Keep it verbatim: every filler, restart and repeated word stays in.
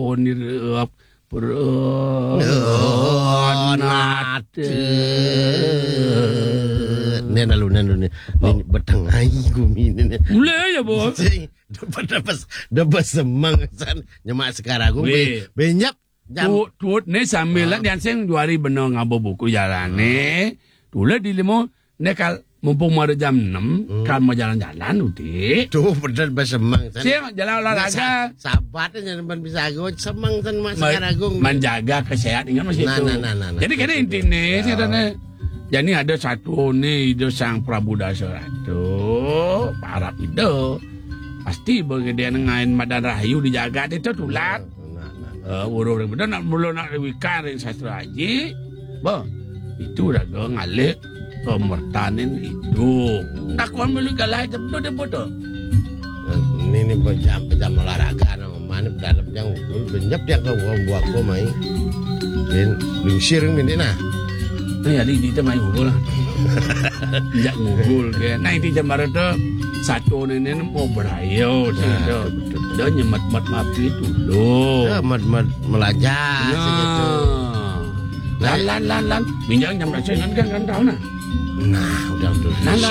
Onir, eh, per-, eh, nate. Nen lalu, nen lalu, nen. Nen betengah gumi ni, nen. Mulai ya, Bos. Sing, dapat, dapat, dapat semang san. Nyemak sekarang aku. Weh. Be-, benyap. Jam. Tuut, tuut ni sambil lah, ah, diansing dua hari benar ngaba buku jalan ni. Tulah di lima, ni kal mumpung ada jam enam, hmm, kal mau jalan-jalan, uti. Tu benar bersemang san. Siang jalan olahraga. Sa-, sabat aja, teman bisa go, semang san, Mas Ma-, Karagung. Menjaga kesehatan, ingat masih. Nah, tu. Nah, nah, nah, nah. Jadi, kena inti ni, ya, saya tanya. Jadi, ada satu ni, itu Sang Prabu Dasaratu, Arab itu. Pasti bagi dia ngain madan rahayu di jagat itu tulat. Nah, nah, nah. Eh, urus betul nak mula nak wikan ring sastra haji. Bah, itu dah ngalih pemertanin itu. Takon melu galai jam tu dia bodoh. Ini, ini berjam, berjam olahraga nama mana berdalam yang ugul, benyap dia ke buah buah mai. Bin, bin siring bin nah. Ni hari kita main ugul lah. Injak ngugul ke. Nah, itu jam baru tu satu ni, ni mau berayo tu. Nah, betul, betul. Dah nyemat-mat mapi tu lo. Ya, mat-mat melajah. Nah. Saja tu. Nah. Lan, lan, lan, lan. Minjang jam dah kan, kan tahu nah. Nah, udah tu. Lan, lan,